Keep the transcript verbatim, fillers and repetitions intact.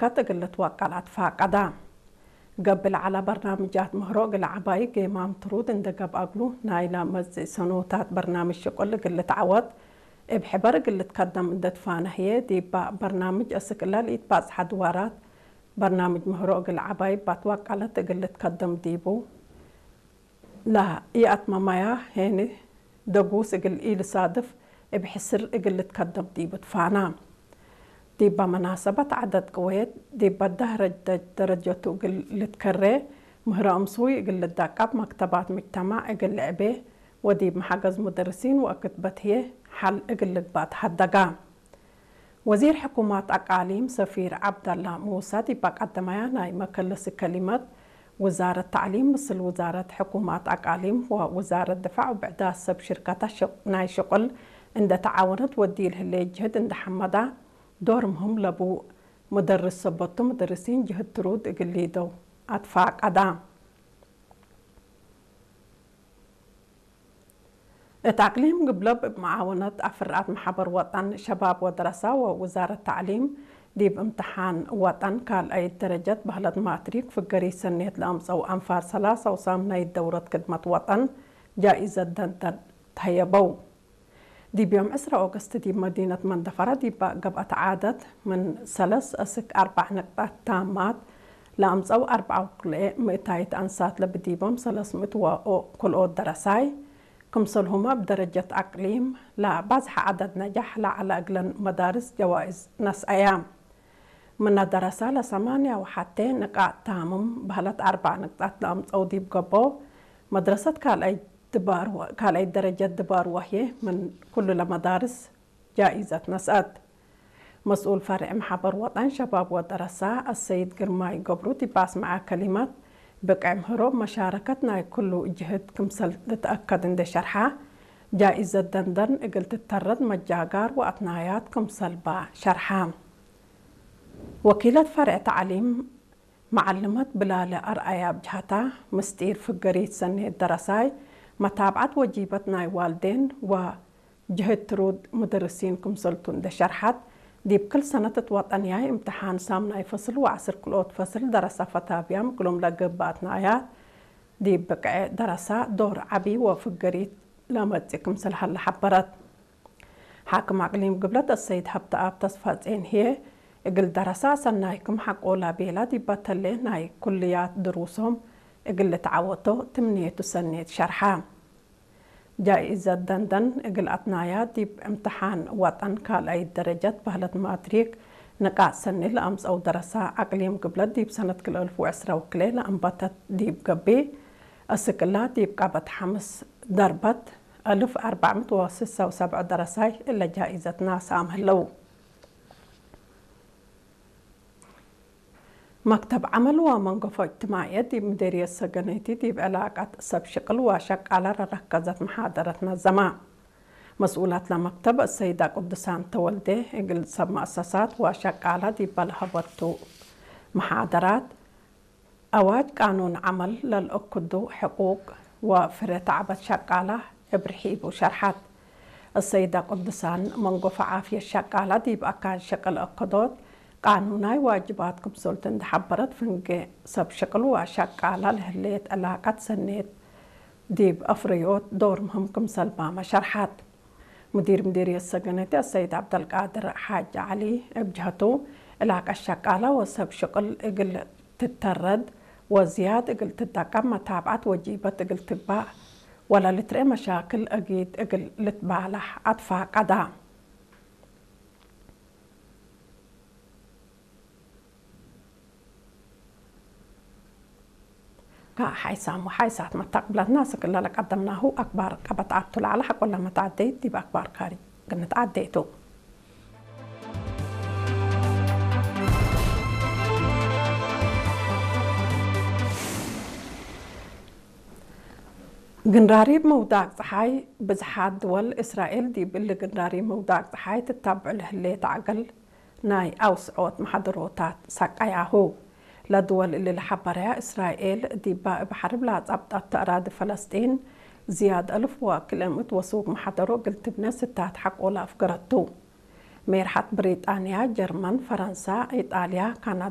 ሸርከት እግል ልትወቀል አትፋቀዳ። ገብእ ለዐለ በርናምጃት ምህሮ እግል ዐባይ ጌማም ትሩድ እንዴ ገብአ እግሉ፣ ናይለ መጽእ ሰኖታት በርናምጅ ሽቁል እግል ልትዐወት እብ ሕበር እግል ልትከደም እንዴ ትፋነ ህዬ፣ ዲበ በርናምጅ አስክ እለ ለኢትባጽሐ ድዋራት በርናምጅ ምህሮ እግል ዐባይ እብ አትወቀለት እግል ልትከደም ዲቡ። ለኢአትመመያ ሄኒ ደጉስ እግል ኢልሳድፍ እብ ሕስር እግል ልትከደም ዲቡ ትፋና። ዲበ መናሰበት ዐደድ ቅዌት ዲበ ደህረጅ ደረጀቱ እግል ልትከሬ፣ ምህረ እምሱይ እግል ልደቀብ፣ መክተባት ሙጅተማዕ እግል ልዕቤ ወዲብ መሐገዝ ሙደርሲን ወአክትበት ህዬ ሐል እግል ልግባእ ተሀደጋ። ወዚር ሕኩማት አቃሊም ሰፊር ዐብደላ ሙሳ ዲብ አቀደመያ ናይ መከለሲ ከሊመት፣ ውዛረት ተዕሊም ምስል ውዛረት ሕኩማት አቃሊም ወውዛረት ድፋዕ ወብዕዳት ሰብ ሽርከተ ሽቅ-፣ ናይ ሽቁል እንዴ ተዓወነት ወዲል ህሌ ጅህድ እንዴ ሐመዳ፣ ዶር ምህም ለቡ ሙደርስ ሰበቱ ሙደርሲን ጅህድ ትሩድ እግል ሊደው አትፋቀዳ። እት አቅሊም ግብለብ እብ መዓወነት አፍርአት መሐበር ወጠን ሸባብ ወደረሳ ወውዛረት ተዕሊም፣ ዲብ እምትሓን ወጠን ካልአይት ደረጀት በህለት ማትሪክ ፍገሪት ሰኔት ለአምጸው አንፋር ሰላሰ ወሳምናይት ደውረት ክድመት ወጠን ጃኢዘት ደንደን ተህየበው። ዲብ ዮም ዕስራ ኦገስት ዲብ መዲነት መንደፈራ ዲብ ገብአት ዓደት ምን ሰለስ እስክ አርበዕ ንቅጣት ታማት ለአምጸው አርበዕ ወክልኤ ምእታይት አንሳት ለብዲቦም ሰለስ ምእት ወክልኦት ደረሳይ፣ ክምሰልሁመ እብ ደረጀት አቅሊም ለባዝሐ ዐደድ ነጃሕ ለዐለ እግለን መዳርስ ጀዋይዝ ነስአያ። ምነ ደረሳ ለሰማንያ ወሐቴ ንቃጥ ታምም በህለት አርበዕ ንቅጣት ለአምጸው ዲብ ገብኦ መድረሰት ካልአይ ድባር ወ-፣ ካልአይ ደረጀት ድባር ወህዬ ምን ኩሉ ለመዳርስ ጃኢዘት ነስአት። መስኡል ፈርዕ መሐበር ወጠን ሸባብ ወደረሳ አሰይድ ግርማይ ገብሩ ዲብ አስመዐ ከሊመት፣ ብቅዕ ምህሮ መሻረከት ናይ ኩሉ ጅህድ ክምሰል ልትአከድ እንዴ ሸርሐ፣ ጃኢዘት ደንደን እግል ትተረድ መጃጋር ወአትናያት ክምሰል በ ሸርሐ። ወኪለት ፈርዕ ተዕሊም መዓልመት ብላለ አርአያ እብ ጀሀታ፣ ምስጢር ፍገሪት ሰኔት ደረሳይ፣ መታብዐት ወጂበት ናይ ዋልዴን ወ ጅህድ ትሩድ ሙደርሲን ክምሰልቱ እንዴ ሸርሐት፣ ዲብ ክል ሰነት እት ወጠንያይ እምትሓን ሳምናይ ፈስል ወዐስር ክልኦት ፈስል ደረሳ ፈታብያም እግሎም ለገብእ አትናያት ዲብ ብቅዕ ደረሳ ዶር ዐቢ ወፍገሪት ለመጽእ ክምሰል ሀለ ሐበረት። ሓክም አቅሊም ግብለት አሰይድ ሀብተአብ ተስፋጼን ህዬ፣ እግል ደረሳ ሰናይ ክም ሐቆላ ቤላ ዲበ ተሌ ናይ ኩልያት ድሩሶም እግል ልትዐወቶ ትምኔቱ ሰኔት ሸርሐ። ጃኢዘት ደንደን እግል አትናያ ዲብ እምትሓን ወጠን ካልአይት ደረጀት በህለት ማትሪክ ንቃጥ ሰኒ ለአምጸው ደረሳ አቅሊም ግብለት ዲብ ሰነት ክልኤ አልፍ ወዕስራ ወክልኤ ለአንበተት ዲብ ገብእ፣ እስክ እላ ዲብ ቀበት ሐምስ ደርበት አልፍ አርበዕ ምእት ወስሳ ወሰብዕ ደረሳይ እለ ጃኢዘት ነስአም ህለው። መክተብ ዐመል ወመንገፎ እጅትማዕየት ዲብ ምዴርየት ሰገነይቲ ዲብ ዕላቀት ሰብ ሽቅል ወሸቃለ ለረከዘት መሓደረት ነዘመ። መስኡላት ለመክተብ አሰይዳ ቅዱሳን ተወልዴ፣ እግል ሰብ መአሰሳት ወሸቃለ ዲበ ለሀበቱ መሓደራት፣ አዋጅ ቃኑን ዐመል ለልአክዱ ሕቁቅ ወፍሬ ተዕበት ሸቃለ እብ ርሒቡ ሸርሐት። አሰይዳ ቅዱሳን፣ መንጎፈ ዓፍየት ሸቃለ ዲብ አካን ሽቅል አከዶት ቃኑናይ ዋጅባት ክምሰልቱ እንዴ ሐበረት፣ ፍንጌ ሰብ ሽቅል ወሸቃለ ለህሌት ዕላቀት ሰኔት ዲብ አፍረዮት ዶር ምህም ክምሰል በመ ሸርሐት። ሙዲር ምዲርየት ሰገነቲ አሰይድ ዐብደልቃድር ሓጅ ዐሊ እብ ጀሀቱ፣ ዕላቀት ሸቃለ ወሰብ ሽቅል እግል ትተረድ ወዝያድ እግል ትደቀብ መታብዐት ወጂበት እግል ትግባእ ወለልትርኤ መሻክል አጊድ እግል ልትባላሕ አትፋቀዳ። ከሐይሳም ወሐይሳት መታቅብለትና፣ እስክ እለ ለቀደምናሁ አክባር ቀበት አቱ ለዐለ ሐቆለ መትዐደይት ዲብ አክባር ካሪ ግንትዐደይቱ። ግንራሪብ መውዳቅ ጸሓይ፣ ብዝሓት ድወል እስራኤል ዲብ እሊ ግንራሪብ መውዳቅ ጸሓይ ትታብዑ ለህሌት ዐገል ናይ አውስዖት መሓደሮታት ሰቀያሁ። ለድወል እሊ ለሐበረያ፣ እስራኤል ዲባ እብ ሐርብ ለአጻብጣቱ አራዲ ፈለስጢን ዝያድ አልፍ ወክልኤ ምእት ወሱግ መሓደሮ እግል ትብኔ ስታት ሐቆለ አፍገረቱ። ሜርሐት ብሪጣንያ፣ ጀርመን፣ ፈረንሳ፣ ኢጣልያ፣ ካናዳ፣